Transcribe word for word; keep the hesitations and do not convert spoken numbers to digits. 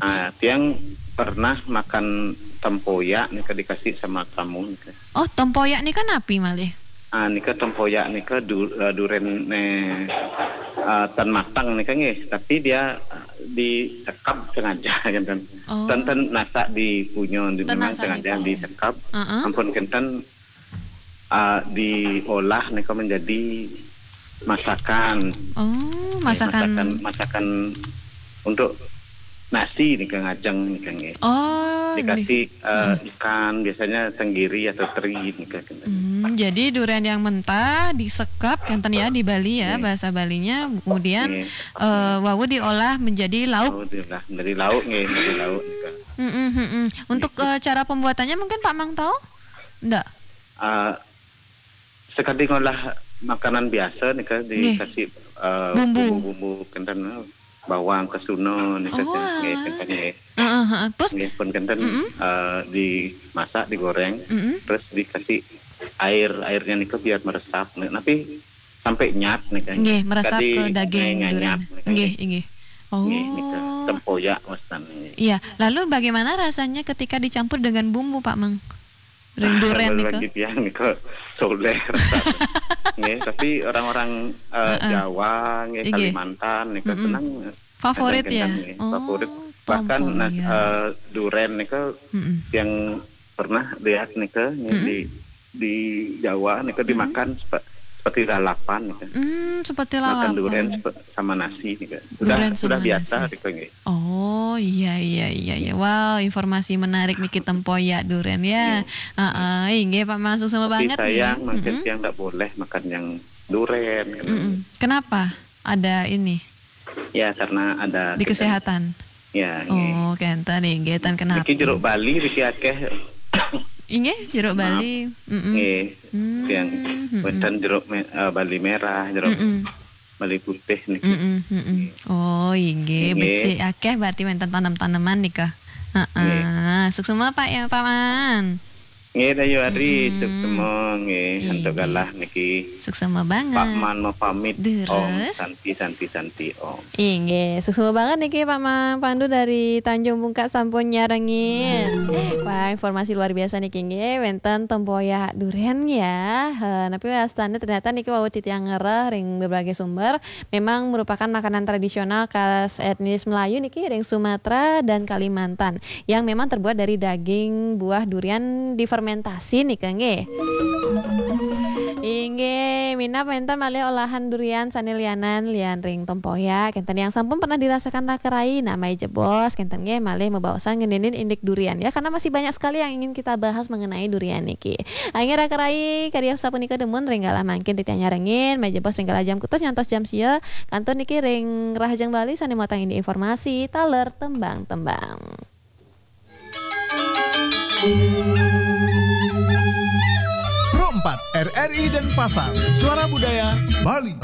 Ah, tiang pernah makan tempoyak nika dikasih sama tamu nika. Oh, tempoyak nika napi malih? Ah, nika tempoyak nika du, eh, duren ne, ah, tan matang nika nggih, tapi dia, ah, disekap sengaja kan. Oh. Tan, tan nasak di punyo, di, tan memang nasak sengaja di punyo. Disekap. Heeh. Ampun kenten, ah, diolah nika menjadi masakan. Oh, eh, masakan. Masakan, masakan untuk nasi nika ngajeng nika nggih. Oh, dikasih, eh, hmm, ikan, biasanya tenggiri atau teri nika kenten. Hmm, jadi durian yang mentah disekap kenten ya di Bali ya, hmm, bahasa Balinya. Kemudian, hmm, eh, wau diolah menjadi lauk. Oh, diolah menjadi lauk nggih, menjadi lauk nika. Hmm, hmm, hmm, hmm. Untuk, eh, cara pembuatannya mungkin Pak Mang tahu? Ndak? Ah, sekadi ngolah makanan biasa nika, nggih, dikasih, eh, bumbu, bumbu-bumbu kenten, eh, bawang, kesuna nika, oh, nggih, kenten, nggih. Heeh, heeh. Terus? Nggih, pun kenten, mm-mm, eh, dimasak, digoreng, mm-mm, terus dikasih air, airnya nika biar meresap. Nah, tapi sampai nyat nika, nggih, meresap ke daging durian nika, nggih, nggih. Nggih, nika. Oh. Tempoyak maksudnya, nggih. Iya, lalu bagaimana rasanya ketika dicampur dengan bumbu, Pak Mang? Ring duren nika? Bagi tiang nika soleh rasanya. Nggih, tapi orang-orang, eh, heeh, Jawa, nggih, inggih, Kalimantan nika, mm-mm, senang, eh, favorit ya? Nggih, oh, favorit. Bahkan, nah, tempoyak, eh, duren nika, mm-mm, yang pernah lihat nika, nggih, mm-mm, di, di Jawa nika, mm-mm, dimakan sepe-, seperti lalapan nika. Hmm, seperti lalapan. Makan duren sepe-, sama nasi nika. Sudah, duren sudah sama biasa nasi nika, nggih. Oh, iya, iya, iya, iya. Wow, informasi menarik niki tempoyak duren ya. Iya. Heeh, inggih Pak Mang, suksma banget nih. Tapi sayang, mungkin, mm-mm, tiang ndak boleh makan yang duren, gitu. Mm-mm. Kenapa? Ada ini? Ya, karena ada di kesehatan. Ya, nggih. Oh, kenten, inggih, ten kenapa? Niki jeruk Bali niki akeh. Inggih, jeruk Bali. Maaf. Mm-mm. Nggih. Hmm, tiang, mm-mm, wenten jeruk me-, eh, Bali merah, jeruk, mm-mm, Bali putih niki. Mm-mm, mm-mm. Oh, inggih, inggih, becik akeh berarti wenten tanem-taneman nika. Heeh. Nggih. Suksma Pak ya, Pak Mang. Nggih, Dayu Adri, mm-mm, suksma nggih, inggih, antuk galah niki. Suksma banget. Pak Man mau pamit. Om. Terus? Santi, Santi, Santi, Om. Inggih, suksma banget niki Pak Mang Pandu dari Tanjung Bungka sampun nyarengin. Wah, informasi luar biasa niki nggih, wenten tempoyak duren ya. He, napi wastane ternyata niki wau titiang ngereh ring berbagai sumber, memang merupakan makanan tradisional khas etnis Melayu niki ring Sumatera dan Kalimantan yang memang terbuat dari daging buah durian difermentasi nika nggih. Inggih, minab wenten malih olahan durian sane lianan lian ring tempoyak, kenten yang sampun pernah dirasakan raka rai, nah mai jebos, kenten nggih malih mabaosan ngenenin indik durian ya, karena masih banyak sekali yang ingin kita bahas mengenai durian niki. Inggih raka rai, kadi sapunika dumun ring galah mangkin titiang nyarengin, mai jebos ring galah jam kutus nyantos jam sia, kantun niki ring Rahajeng Bali sane mautang indik informasi, taler tembang-tembang. Pro empat, R R I Denpasar, Suara Budaya Bali.